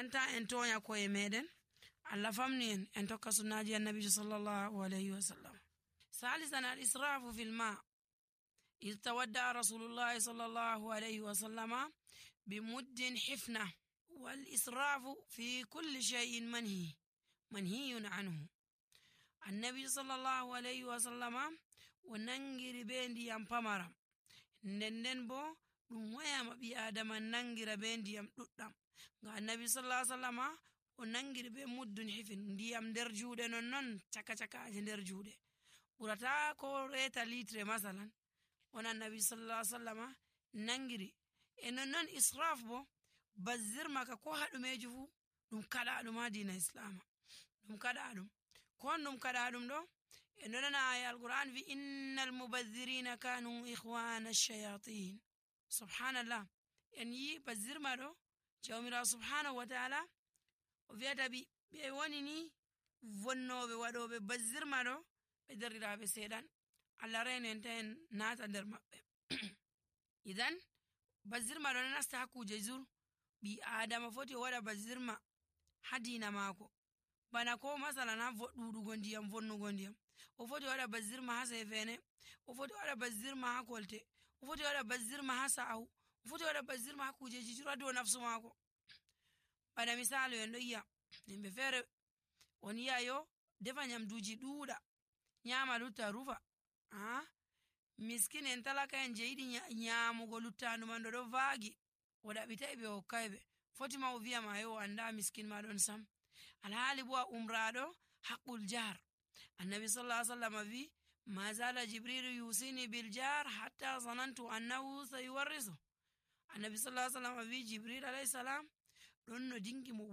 enta en tonya koye meɗen Allah famni en tokka sunnaji annabi sallallahu alayhi wa sallam. Salisan al-israfu fil ma. إذ تودع رسول الله صلى الله عليه وسلم بمد حفنة. والإسراف في كل شيء منهي عنه. النبي صلى الله عليه وسلم وننجر بين ديام پمرم nden bo ɗum wayama ɓi adama nangira be ndiyam ɗuɗɗam ga annabi sallallahu alaihi wasallama o nangiri be muddun hifin ndiyam nder juuɗe non caka-cakaje nder juuɗe ɓurata ko reta litre masalan on annabi sallallahu alaihi wasallama nangiri e non israf bo bazzir maka ko haɗumeji fu ɗum kaɗaɗum ha dina islama ɗum kaɗaɗum kon ɗum kaɗaɗum ɗo e nonana aya alquran wi innal mubazzirina kanu ikhwana ash-shayatin. Subhanallah, en yi bazzirma ɗo jawmirawo subhanahu wa ta'ala o wi'ata ɓe woni ni vonnoɓe waɗoɓe bazzirma ɗo ɓe derɗiraɓe seeɗan Allah reno en ta en naata nder maɓɓe. Idan bazzirma ɗo nasta ha kuje zur ɓi adama foti o waɗa bazzirma ha dina maako bana ko masalan ha ɗuɗugo ndiyam vonnugo ndiyam o foti waɗa bazzirma ha sefene o foti waɗa bazzirma ha kolte o foti waɗa bazzirma ha sa'u o foti waɗa bazzirma ha kujeji jura dow nafsu maako. Bana misali en ɗo yi'a yimɓe feere on yi'a yo defa nyamduji ɗuuɗa nyama lutta rufa miskin en talaka en je yiɗi nyamugo luttandu man ɗo vaagi o ɗaɓitai ɓe hokkayɓe foti ma o wiyama yo anda miskin ma ɗon sam alhaali bo a umraɗo haqqul jar. Annabi sallallahu alaihi wasallam wi ma zala jibril yusini bil jar hatta zanantu annahu sayuwarrisu. Annabi sallallahu alaihi wasallam wi jibril alayhi salam ɗon no dingi mo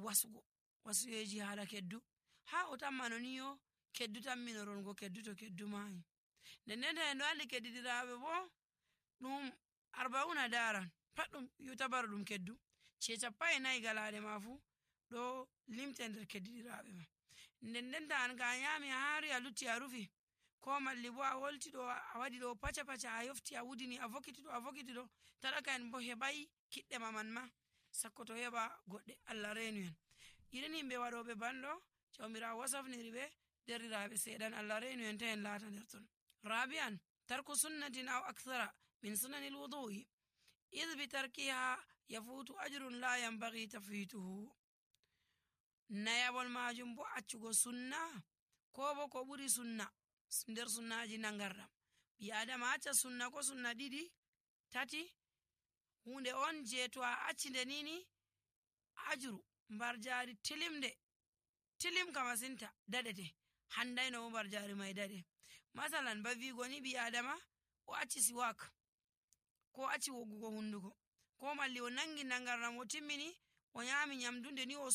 wasuyeji haala keddu ha o tammano ni yo keddu tamminorongo keddu to keddu mayi nden en ɗo andi keddidiraɓe bo ɗum 40 daran pat ɗum yutabar ɗum keddu ce 4 galaɗe ma fu ɗo limte nder keddidiraɓe ma nden ta an ka nyami hari a lutti a rufi ko malli bo a wolti ɗo a waɗi ɗo paca a yofti a wudini a vokiti ɗo talaka en bo heɓai kiɗɗe ma man ma sakko to heɓa goɗɗe Allah renu en. Irin himɓe waɗoɓe banɗo jawmirawo wasafniri ɓe derɗiraɓe seeɗan Allah renu en ta en laata nder ton. Rabi'an tarku sunnatin aw akthara min sunanil wudu'i idh bi tarkiha yafutu ajrun la yanbaghi tafwituhu. Nayabol majum bo accugo sunna ko bo ko ɓuri sunna nder sunnaji nangarɗam ɓi adama acca sunna ko sunna 2 3 hunde on je to a acci nde nini ajru mbar jari tilim ka masinta daɗete handayno mbar jari mai daɗe. Masalan ba wigo ni ɓi adama o acci siwak ko acci woggugo hunduko ko malli o nangi nangarɗam o timmini o nyami nyamdu nde ni o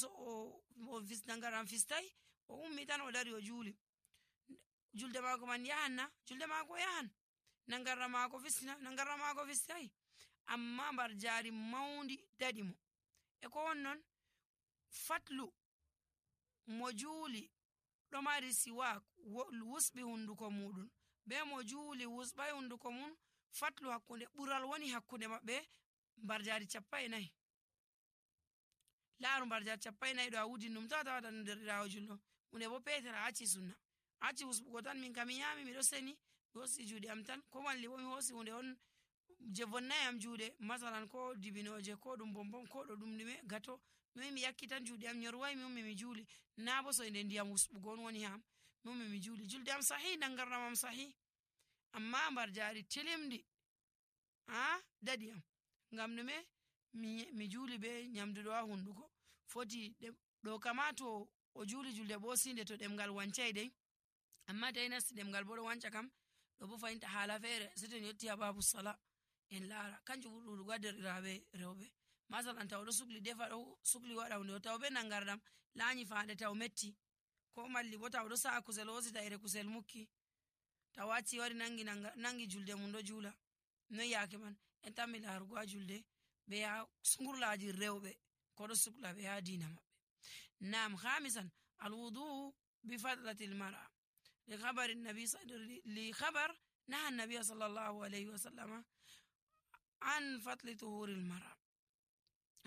nangarɗam fistai o ummi tan o dari o juuli julde maako man yahanna julde maako yahan nangarɗam maako fistai amma mbar jari maundi daɗi mo e ko wonnon fatlu mo juuli ɗo mari siwak wusɓi hunduko muɗum be mo juuli wusɓai hunduko mum fatlu hakkunde ɓural woni hakkunde maɓɓe mbar jari 40 laaru mbar jari 40 ɗo a wudin ɗum tawata nder ɗirawo julɗo hunde bo petera acci sunna acci wusɓugo tan min kam mi nyami miɗo seni mi hosi juuɗe am tan ko malli bo mi hosi hunde on je vonnai am juuɗe masalan ko dibinoje ko ɗum bombom ko ɗo ɗum ɗume gato mi yakki tan juuɗe am nyorwai mi ummi mi juuli na bo soyde ndiyam wusɓugo on woni ham mi ummi mi juuli julde am sahi nangarɗam am sahi amma mbar jari tilimdi daɗi am ngam ɗume mi juuli be nyamdu ɗo ha hunduko foti ɗo kama to o juuli julde bo sinde to ɗemgal wancai dai amma tawi nasti ɗemgal bo ɗo wanca kam ɗo bo fayinta haala feere seten yetti ha babu sala en laara kanjum ɓurɗugo ha derɗiraɓe rewɓe masalan taw ɗo sukli defa ɗo sukli waɗa hunde taw be nangarɗam laanyi faande taw metti ko malli bo taw ɗo sa'a kusel hosita ere kusel mukki taw acci wari nangi julde mum ɗo juula noy yaake man en tammi laarugo ha julde be ha sungurlaji rewɓe ko ɗo sukla ɓe ha dina maɓɓe. Nam khamisan alwudu bi fadlatil mar'a لخبر نهى النبي صلى الله عليه وسلم عن فضل طهور المرأة.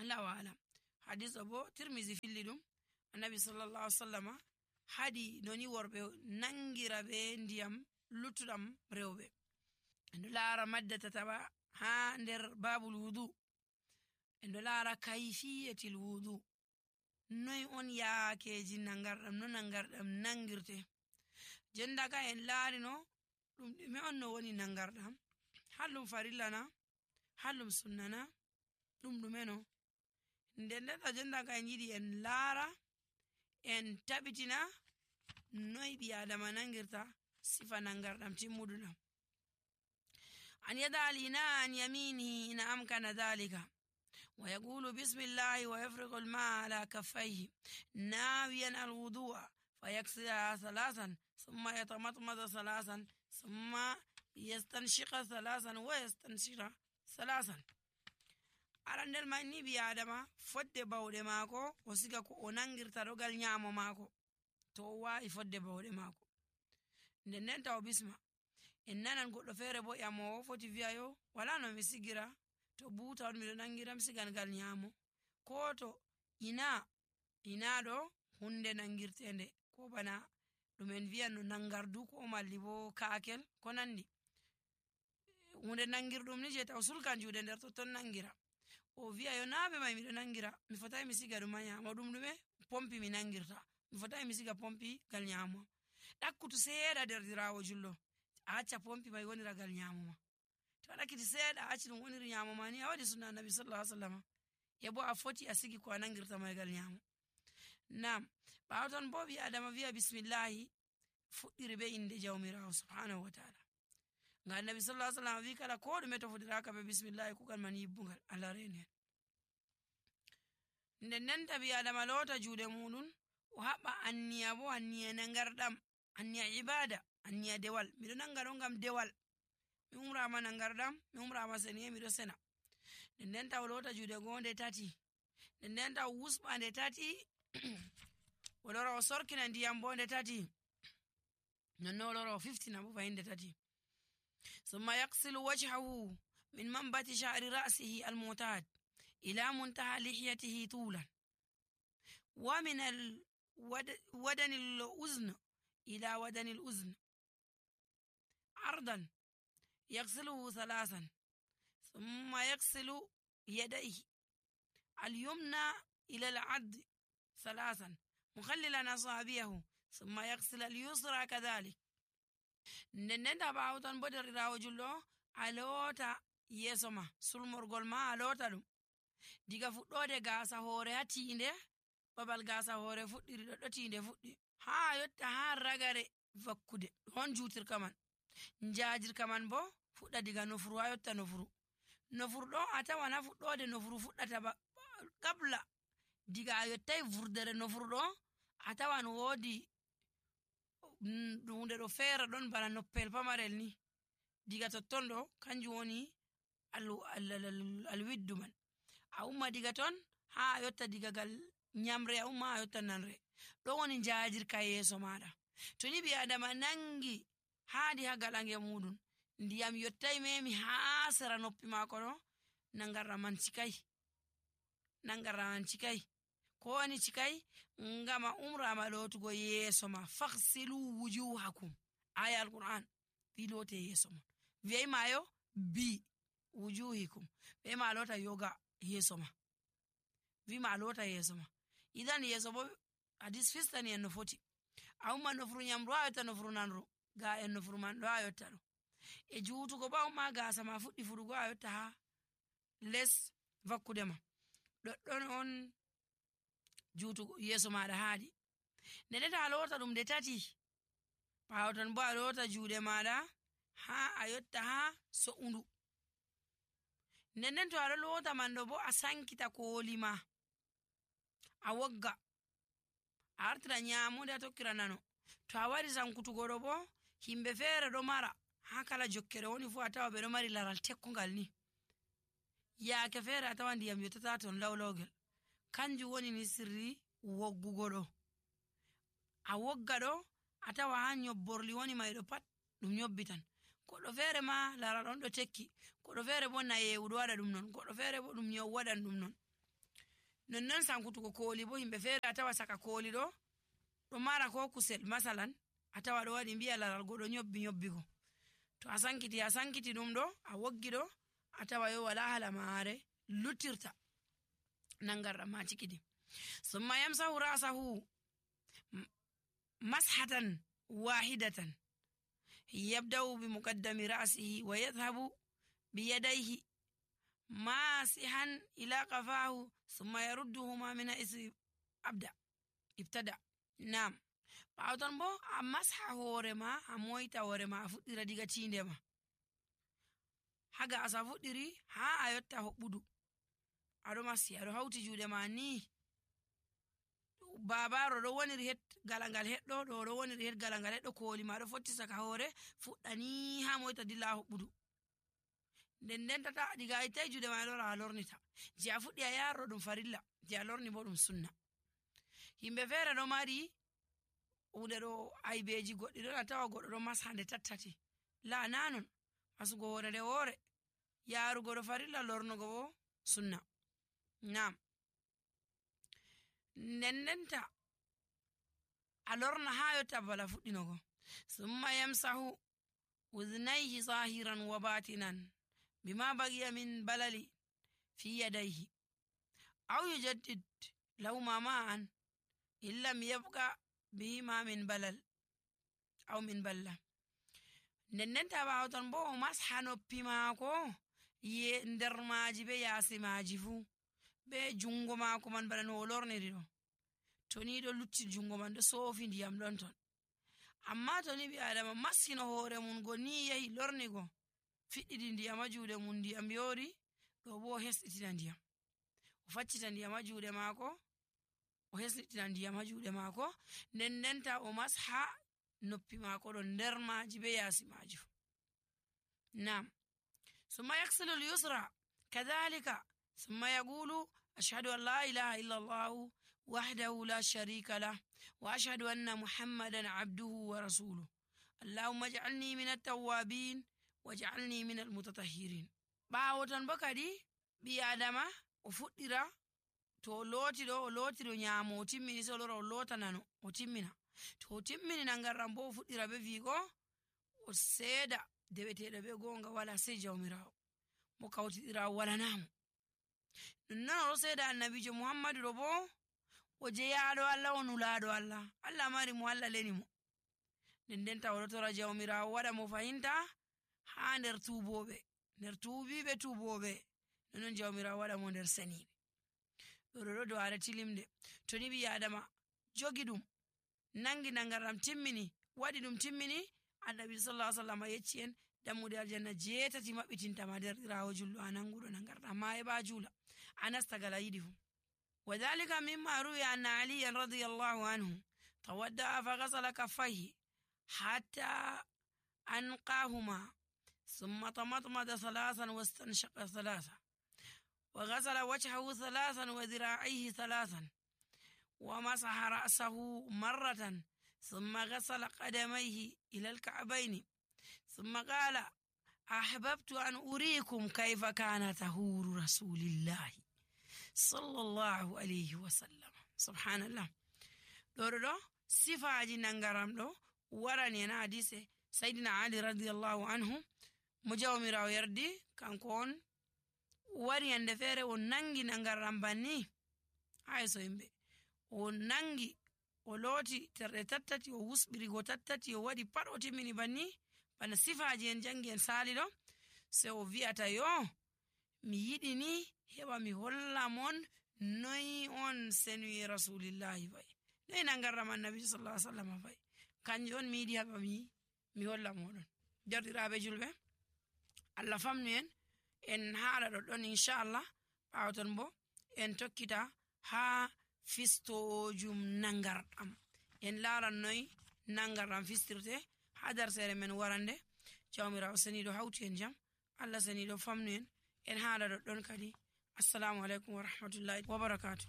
الله أعلم. hadis o bo Tirmizi filli ɗum. Annabi sallallahu alaihi wasallam hadi noni worɓe nangira be ndiyam luttuɗam rewɓe. En ɗo laara madda tataɓa ha nder babul wudu. En ɗo laara kayfiyatil wudu. Noy on yaakeji nangarɗam, no nangarɗam nangirte. Jendaka en laarino ɗum ɗume on no woni nangarɗam. Hallum farilla na, hallum sunna na, ɗum ɗume no. Nden jendaka en yiɗi en laara en tabitina noy ɓi adama nangirta sifa nangarɗam timmuɗuɗam. An yada al-ina an yaminihi in amkana dhalika wa yaqulu bismillahi wa yafriqu al-ma'a ala kaffayhi nawiyan al-wudu'a fayaghsilaha thalathan thumma yatamatmada thalathan thumma yastanshiqa thalathan wa yastanshira thalathan. Arandel man ni ɓi adama fodde bawɗe maako o siga ko o nangirta ɗogal nyamo maako to o wawi fodde bawɗe maako. Nden taw bisma en nanan goɗɗo feere bo ƴamowo foti wi'a yo wala no mi sigira to buuta on miɗo nangira mi sigan gal nyamo, ko to ina ɗo hunde nangirtende ko bana ɗum en wi'an no nangardu ko malli bo kaakel ko nandi. Hunde nangirɗum ni je taw sulkan juuɗe nder totton nangira. O wi'a yo naaɓe mai miɗo nangira mi fotai mi siga ɗum ha nyamo, ɗum ɗume pompi mi nangirta mi fotai mi siga pompi gal nyamo. Ɗakkutu seeɗa derdirawo jullo a acca pompi mai wonira gal nyamo ma. To a ɗakkiti seeɗa a acci ɗum woniri nyamo ma ni a waɗi sunna annabi sallallahu alaihi wasallam. E bo a foti a sigi ko a nangirta mai gal nyamo. Nam ɓawo ton bo ɓi adama wi'a bismillahi fuɗɗiri be inde jawmirawo subhanahu wa ta'ala. Nga annabi sallallahu alaihi wasallam wi kala ko ɗume to fuɗiraka be bismillahi kugal man yibbungal Allah reni. Nden tabi adama lota juuɗe muɗum o haɓɓa anniya bo anniya nangarɗam, anniya ibada, anniya dewal. Miɗo nanga ɗo ngam dewal. Mi umrama nangarɗam, mi umrama seniye miɗo sena. Nden taw lota juuɗe gonde tati. Nden taw wusɓa nde tati o lora o sorkina ndiyam bo nde tati. Nonno o lora o fiftina bo fayin nde tati. Summa yaqsilu wajhahu min manbati sha'ri ra'sihi al-mu'tad ila muntaha lihiyatihi tulan wa min wadani al-uzn ila wadani al-uzn ardan يغسله ثلاثا ثم يغسل يديه اليمنى إلى العضد ثلاثا مخللا أصابعه ثم يغسل اليسرى كذلك. Nden bawtan bo derirawo jullo a lota yeso ma sulmorgol ma a lota ɗum diga fuɗɗode gasa hoore ha tiinde babal gasa hoore fuɗɗiri ɗo tiinde fuɗɗi ha yotta ha ragare vakkude hon jutirka man. Njajirka man bo fuɗɗa diga nofuru ha yotta nofuru. Nofuru ɗo a tawan ha fuɗɗode nofuru fuɗɗata ba kabla diga a yottai vurdere nofuru ɗo a tawan woodi hunde ɗo feere ɗon bana noppel pamarel ni diga totton ɗo kanjum woni alwiddu man. A umma diga ton ha a yotta diga gal nyamre a umma a yotta nanre ɗo woni njajirka yeso maɗa. To ni ɓi adama nangi haadi ha galange muɗum ndiyam yottai memi ha sera noppi mako ɗo nangarɗam man cikai ko wani cikai ngama umrama lotugo yeso ma. Faghsilu wujuhakum aya alquran wi lote yeso ma wi mayo bi wujuhikum wi ma lota yoga yeso ma wi ma lota yeso ma. Idan yeso bo hadis fistani en no foti a umma nofuru nyamru a yotta nofuru nanru ga en nofuru man ɗo a yotta ɗo e juutugo ba umma gasa ma fuɗɗi fuɗugo a yotta ha les vakkude ma ɗoɗɗon on juutugo yeso maɗa haadi. Nden ta a lota ɗum nde tati ɓawo ton bo a lota juuɗe maɗa ha a yotta ha so'undu. Nden to aɗo lota man ɗo bo a sankita koli ma a wogga a artira nyamude a tokkira nano. To a wari sankutugo ɗo bo himɓe feere ɗo mara ha kala jokkere woni fu a tawa ɓe ɗo mari laral tekkungal ni yaake feere a tawa ndiyam yottata ton lawlawgel. Kanjum woni ni sirri woggugo ɗo. A wogga ɗo a tawa ha nyobborli woni mai ɗo pat ɗum nyobbitan. Goɗɗo feere ma laral on ɗo tekki, goɗɗo feere bo nayewu ɗo waɗa ɗum non, goɗɗo feere bo ɗum nyawu waɗan ɗum non. nonnon sankutugo kooli bo himɓe feere a tawa saka kooli ɗo mara ko kusel masalan a tawa ɗo waɗi mbi'a laral go ɗo nyobbigo to a sankiti ɗum ɗo a woggi ɗo a tawa yo wala hala maare luttirta nangarɗam ma cikidi summa yamsahu ra'sahu mashatan wahidatan yabda'u bi muqaddami ra'sihi wa yadhhabu bi yadayhi masihan ila qafahu summa yarudduhuma min ibtada nam ɓawton bo a masha hoore ma a moyta hoore ma a fuɗɗira diga tiinde ma haga asa fuɗɗiri ha a yotta hoɓɓudu aɗo masi aɗo hawti juuɗe ma ni babaro ɗo woniri het galangal heɗɗo ɗo woniri het galangal heɗɗo kooli ma ɗo fotti saka hoore fuɗɗani ha moyta dilla hoɓɓudu nden tata diga ittai juuɗe ma lora a lornita je a fuɗɗi a yarro ɗum farilla je a lorni bo ɗum sunna himɓe feere ɗo mari hunde ɗo aybeji goɗɗi ɗon a tawa goɗɗo ɗo mashande tattati la nanon masugo hoore nde hoore yarugo ɗo farilla lornugo bo sunna nam ndendenta a lorna ha yotta bala fuɗɗinogo summa yamsahu udhnayhi zahiran wa batinan bima baqiya min balali fi yadayhi aw yujaddid lahuma ma'an illam yabqa bihima min balal aw min balla ndendenta ɓawton bo o masha noppi maako nder maaji be yaasi maaji fuu be jungo maako man bana no o lorniri ɗo to ni ɗo lutti jungo man ɗo soofi ndiyam ɗon ton amma to ni ɓi adama massino hoore mum go ni yahi lornigo fiɗɗidi ndiyam ha juuɗe mum ndiyam yoori ɗo bo o hesɗitina ndiyam o faccita ndiyam ha juuɗe maako o hesɗitina ndiyam ha juuɗe maako ndendenta o masha noppi maako ɗo nder maaji be yaasi maaji fu nam summa yaksilu al-yusra kadhalika summa yaqulu ashhadu an la ilaha illa allah wahdahu la sharika lah wa ashhadu anna muhammadan abduhu wa rasuluhu allahumma ij'alni min at-tawwabin waj'alni min al-mutatahhirin ɓawo ton bo kadi ɓi adama o fuɗɗira to o looti ɗo nyaamo o timmini so lora o loota nano o timmina to o timmini nangarɗam bo o fuɗɗira be wiigo o seeda deweteɗo be gonga wala sey jawmirawo mo kawtidirawo walanamo nonnon oɗo seeda annabijo muhammadu ɗo bo o jeyaɗo allah o nulaɗo allah allah mari mo allah leni mo ndendenta oɗo tora jawmirawo waɗa mo fayinta ha nder tuubiɓe tuuboɓe nonnon jawmirawo waɗa mo nder seniɓe ɗo do'are tilimde to ni ɓi adama jogi ɗum nangi nangarɗam timmini waɗi ɗum timmini annabi sallallahu alaihi wasallam yecci en dammude aljanna 7 maɓɓitintama derɗirawo julɗo a nanguɗo nangarɗam ma heɓa juula a nasta gala yiɗi fu وذلك مما روي أن علي رضي الله عنه تودع فغسل كفيه حتى أنقاهما ثم تمضمض 3 واستنشق 3 وغسل وجهه 3 وذراعيه 3 ومسح رأسه مرة ثم غسل قدميه إلى الكعبين ثم قال أحببت أن أريكم كيف كان طهور رسول الله صلى الله عليه وسلم سبحان الله ɗo sifaji nangaram ɗo warani en hadise sayyidina ali radiyallahu anhu mo jawmirawo yardi kanko on wari hande feere o nangi nangaram banni hayso yimɓe o nangi o looti terɗe tattati o wusɓirigo tattati o waɗi pat o timmini banni bana sifaji en jangi en saali ɗo se o wi'ata yo mi yiɗi ni heɓa mi holla mon noyi on senuyi rasulillahi fay noyi nangarram annabi sallallahu alaihi wasallam fay kanjum on mi yiɗi heɓa mi holla moɗon derɗiraɓe julɓe allah famnu en haala ɗoɗɗon inchallah ɓawo ton bo en tokkita ha fistojum nangarɗam en laaran noyi nangarɗam fistirte ha darsere men warande jawmirawo seniɗo hawti en jam allah seniɗo famnu en haala ɗoɗɗon kadi assalamu alaikum wa rahmatullahi wa barakatuh